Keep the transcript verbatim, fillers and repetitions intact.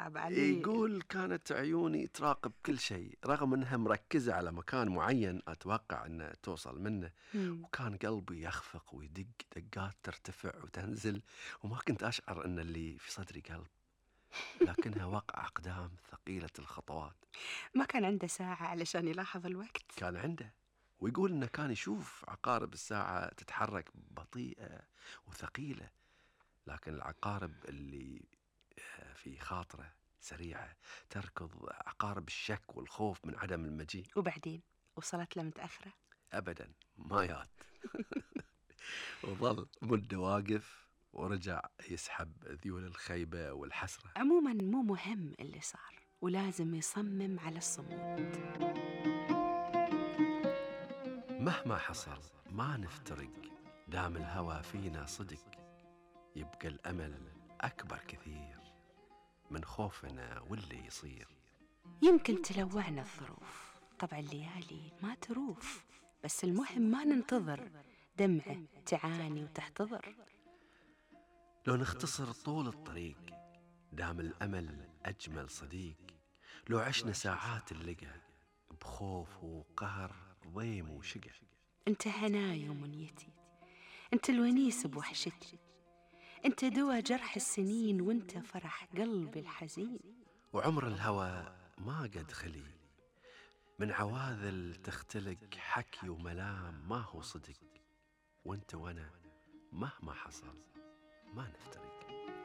صعب علي. يقول كانت عيوني تراقب كل شيء رغم أنها مركزة على مكان معين أتوقع أنها توصل منه. مم. وكان قلبي يخفق ويدق دقات ترتفع وتنزل، وما كنت أشعر أن اللي في صدري قلب، لكنها وقع أقدام ثقيلة الخطوات. ما كان عنده ساعة علشان يلاحظ الوقت؟ كان عنده، ويقول إنه كان يشوف عقارب الساعة تتحرك بطيئة وثقيلة، لكن العقارب اللي في خاطره سريعة، تركض عقارب الشك والخوف من عدم المجيء. وبعدين وصلت له متأخرة؟ أبدا ما يات. وظل مدة واقف ورجع يسحب ذيول الخيبة والحسرة. عموما مو مهم اللي صار، ولازم يصمم على الصمود. مهما حصل ما نفترق، دام الهوى فينا صدق، يبقى الأمل أكبر كثير من خوفنا واللي يصير. يمكن تلوعنا الظروف، طبع الليالي ما تروف، بس المهم ما ننتظر دمعة تعاني وتحتضر. لو نختصر طول الطريق، دام الأمل أجمل صديق، لو عشنا ساعات اللقى بخوف وقهر ضيم وشقى. انت هناي ومنيتي، انت الونيس بوحشتي، انت دوا جرح السنين، وانت فرح قلبي الحزين. وعمر الهوى ما قد خلي من عواذل تختلق، حكي وملام ما هو صدق، وانت وانا مهما حصل ما نفترق.